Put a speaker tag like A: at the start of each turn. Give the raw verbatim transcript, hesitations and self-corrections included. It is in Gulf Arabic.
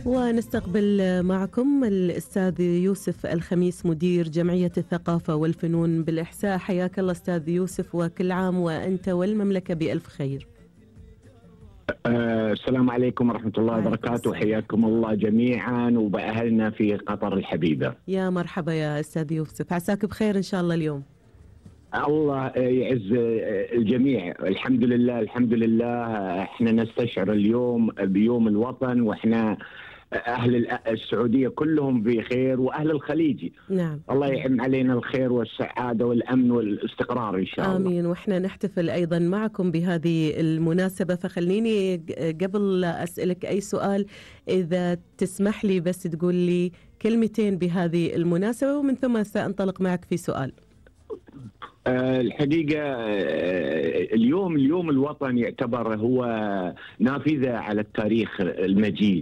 A: ونستقبل معكم الأستاذ يوسف الخميس مدير جمعية الثقافة والفنون بالإحساء. حياك الله أستاذ يوسف، وكل عام وأنت والمملكة بألف خير.
B: آه السلام عليكم ورحمة الله وبركاته، حياكم الله جميعا وبأهلنا في قطر الحبيبة.
A: يا مرحبا يا أستاذ يوسف، عساك بخير إن شاء الله اليوم.
B: الله يعز الجميع، الحمد لله الحمد لله. احنا نستشعر اليوم بيوم الوطن، واحنا أهل السعودية كلهم بخير، وأهل الخليج
A: نعم
B: الله يعم علينا الخير والسعادة والأمن والاستقرار إن شاء الله.
A: آمين. وإحنا نحتفل أيضا معكم بهذه المناسبة، فخليني قبل لا أسألك أي سؤال إذا تسمح لي بس تقول لي كلمتين بهذه المناسبة، ومن ثم سأنطلق معك في سؤال.
B: الحقيقة اليوم اليوم الوطن يعتبر هو نافذة على التاريخ المجيد.